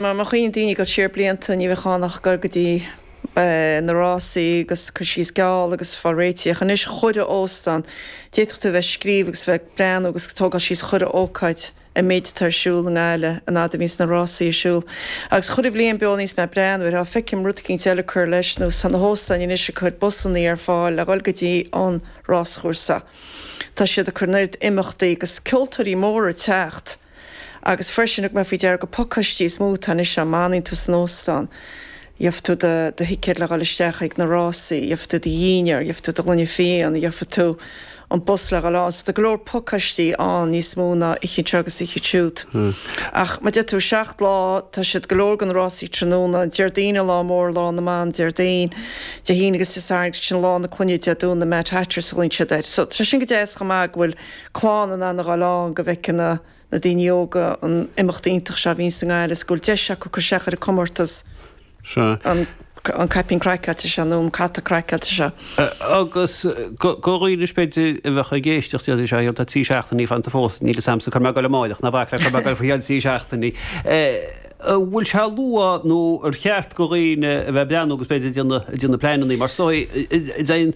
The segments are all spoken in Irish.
Mar má chuimhníonn daoine ag dul siar blianta, ní bheadh ann ach goil go dtí na rásaí agus cur síos geall agus fáil réitithe. Ach anois chuile óstán, d'fhéadfadh tú a bheith ag scríobh agus a bheith ag breathnú agus ag tógáil síos chuile ócáid an méid atá ar siúl i nGaillimh an fhad a bhíonns na rásaí ar siúl. Agus chuile bhliain beo níos mé ag breathnú air, á feicim rud eicínt eile ag cur leis nó tá na hóstáin anois ag cur busannaí ar fáil le dhul go dtí an ráschúrsa. Tá siad ag cur an oiread imeachtaí agus ceoltóirí móra ag teacht. Agus freisin thug mé faoi deara gur pacáistí is mó atá anois ann, má fhanann tú san óstán, gheobhaidh tú do do thicéad le dhul isteach ag na rásaí, gheobhaidh tú do dhinnéar, gheobhaidh tú do ghloine fíon, gheobhaidh tú an bus le dhul ann. So tá go leor pacáistí ann níos mó ná oíche anseo agus oíche ansiúd. Ach mar a deir tú, 7 lá, tá siad go leor de na rásaí tráthnóna, Déardaoin an lá mór, lá na mban, Déardaoin, Dé hAoine agus Dé Sathairn agus sin lá na clainne Dé Domhnaigh, Mad Hatters a ghlaonn siad air. So tá sé sin go deas chomh maith go bhfuil clann in ann a dhul ann go bhfeiceann na na daoine óga an imeacht iontach seo a bhíonn sa nGaillimh is go bhfuil deis acu cur isteach ar an comórtas an an caipín craiceáilte seo nó an hata craiceáilte seo. Agus go dhaoine b'fhéidir a bheadh ag éisteacht déarfaidh sé tá 3 seachtainí fanta fós níl fhios a'msa cá mbeidh mé ag goil amáireach ná bac le cá mbeidh mé ag goil faoi cheann 3 seachtainí. An bhfuil sé luath nó ar cheart go dhaoine a bheith ag breathnú agus b'fhéidir ag déanamh pleananna mar is dóigh dtéann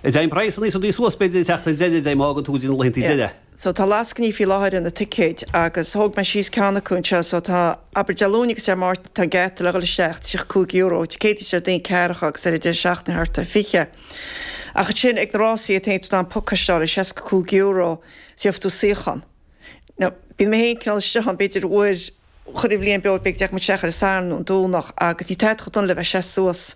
Téann praghsanna is rudaí suas b'fhéidir an tseachtain deiridh de má fhágann tú go dtí na laethanta deiridh. So tá lascainí faoi láthair ar na ticéid agus thóg mé síos ceann acu anseo so tá, abair Dé Luain agus Dé Máirt tá an geata le dhul isteach €35, Dé Céadaoin is Déardaoin ceathracha agus ar an deireadh seachtaine thart ar 20. Ach ansin ag na rásaí iad féin tá an pacáiste le €65 is gheobhaidh tú suíochán. Now bíonn mé féin cineál istigh ann b'fhéidir uair chuile bhliain beo b'fhéidir go dteachaidh muid isteach ar an Satharn nó an Domhnach agus ní tada chomh dona le bheith seasta suas.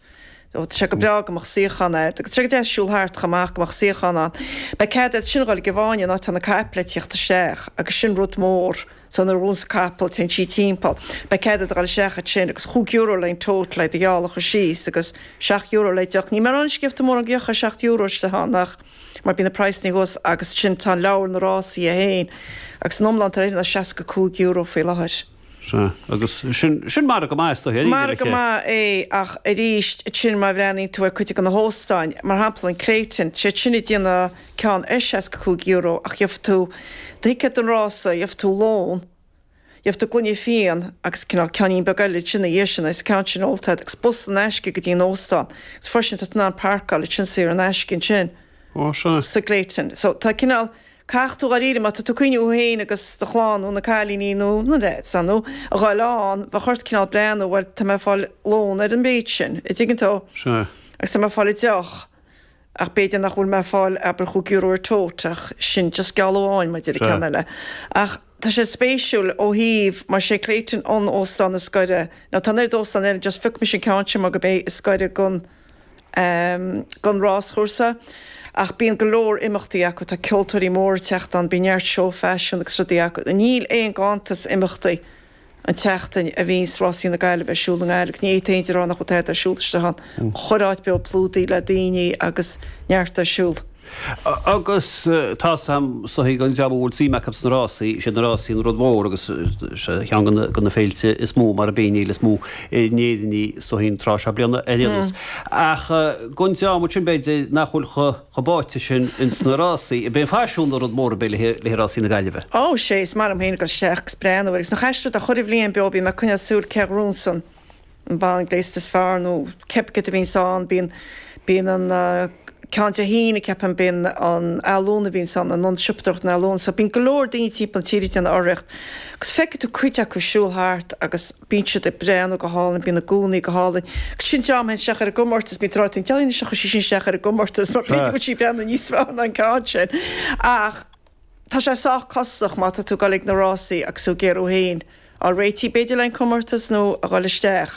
Tá sé go breá go mbeadh suíochán a'd agus tá sé go deas siúl thart chomh maith go mbeadh suíochán ann. Beidh cead a'd ansin dhul ag an bhfáinne an áit atá na caiple ag tíocht isteach agus sin rud mór. So nuair a ghabhanns an capall téann sí timpeall. Beidh cead a'd a dhul isteach ansin agus chúig euro le an tote le do gheall a chur síos agus seacht euro le deoch. Níl mé ag rá anois go gheobhaidh tú mórán deoch ar seacht euro istigh ann ach mar bíonn na praghsanna thuas agus ansin tá an leabhar na rásaí é féin agus an iomlán atá air ná €65 faoi láthair. Sea, agus sin, sin margadh maith is dóiche, Margadh maith é ach arís ansin má bhreathnaíonn tú ar cuid de na hóstáin, mar shampla an Clayton, siad sin ag déanamh ceann ar €65 ach gheobhaidh tú do thicéad don rása, gheobhaidh tú lón, Gheobhaidh tú gloine fíon agus cineál ceainnín beag eile ansin ina dhiaidh sin agus an ceann sin ólta agat agus bus in aisce go dtí an óstán agus freisin tá tú in ann parcáil ansin saor in aisce ansin Ó sea. sa gClayton. So tá cineál, caithfidh tú dháiríre má tá tú ag cuimhniú thú féin agus do chlann nó na cailíní nó na leaids ar ndóigh a ghoil ann bheadh ort cineál breathnú bhuel tá mé ag fáil lón ar an mhéid sin, a' dtuigeann tú? Sea. Agus tá mé ag fáil deoch. Ach b'fhéidir nach bhfuil mé ag fáil abair chúig euro ar tote ach sin just geall amháin maidir le ceann eile. Ach tá sé spéisiúil ó thaobh mar sé Clayton an óstán is gaire nó tá an oiread óstán eile just phioc mise an ceann sin mar gurb é is gaire gon gon ráschúrsa. Ach bíonn go leor imeachtaí acu, tá ceoltóirí móra ag teacht ann, bíonn neart seó faisean agus rudaí acu. Níl aon ganntas imeachtaí. an tseachtain a bhíonns Rásaí na Gaillimhe ar siúl i nGaillimh. Ní fhéadfainn a rá nach bhfuil tada ar siúl istigh ann. Chuile áit beo plódaithe le daoine agus neart ar siúl. Agus tá's a'm is dóichí don dream a bhfuil suim acu sna rásaí, is iad na rásaí an rud mhór agus ceann de na féilte is mó mar a bíonn an fhéile is mó in Éirinn í is dóichí an tráth seo bliana ar aon nós. Ach don dream ansin b'fhéidir nach bhfuil chomh chomh báite sin ins na rásaí. Ab é an faisean an rud mór ab é le haghaidh rásaí na Gaillimhe. Ó, sé, is maith liom féin ag dul isteach agus breathnú air agus nach aisteach do chuile bhliain beo bíonn mé ag coinneáil súil cé a ghnóthaíonns an bean gléasta is fearr nó cébith céard a bhíonns ann, bíonn, bíonn an ceann Dé hAoine ceapaim, bíonn an ealaín a bhíonns ann, an ionad siopadóireachta na ealaíon, so bíonn go leor daoine timpeall na tíre ag déanamh urraíocht agus feicfidh tú cuid acu ag siúl thart agus Bíonn siad ag breathnú go hálainn, bíonn a gúnaí go hálainn. Agus sin dream a théann isteach ar an gcomórtas, bíonn tráth an dealraíonn isteach chuir sí sin isteach ar an gcomórtas mar b'fhéidir go bhfuil sí ag breathnú níos fearr ná an ceann sin. Ach tá sé sách costasach má tá tú ag dul ag na rásaí agus tú ag iarraidh thú féin a fháil réitithe b'fhéidir le an comórtas nó a dhul isteach.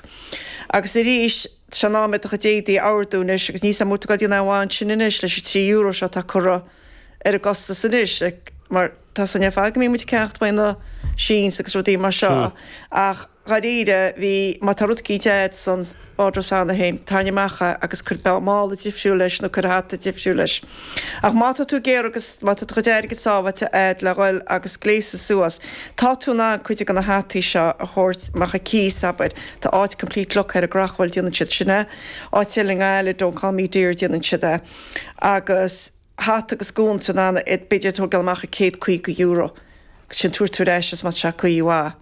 Agus arís, tá sé in am do chuid éadaí a ordú anois agus níl 's a'm an bhfuil tú ag dul go dtí an am sin anois leis an €3 seo atá curtha ar an gcostas anois mar tá 's againn ar fad go mbíonn muid ag ceannacht uaidh na Sheins agus rudaí mar seo ach dháiríre bhí má tá rud eicínt a'd san wardrobe cheana féin tarraing amach é agus cuir mála difriúil leis nó cuir hata difriúil leis. Ach má tá tú ag iarraidh agus má tá do chuid airgid sábháilte a'd le dhul agus gléasadh suas tá tú in ann cuid de na hataí seo a thabhairt amach ar cíos abair tá áit Complete Look ar an gCreachmhaoil déanann siad sin é áit eile i nGaillimh Don't Call Me Dear déanann siad é agus hata agus gúna tá tú in ann iad b'fhéidir a thógáil amach ar €150 agus sin tabhairt tú ar ais is má tá sé caoi mhaith.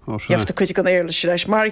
Gheobhaidh tú cuid den éarlais ar ais. Mar.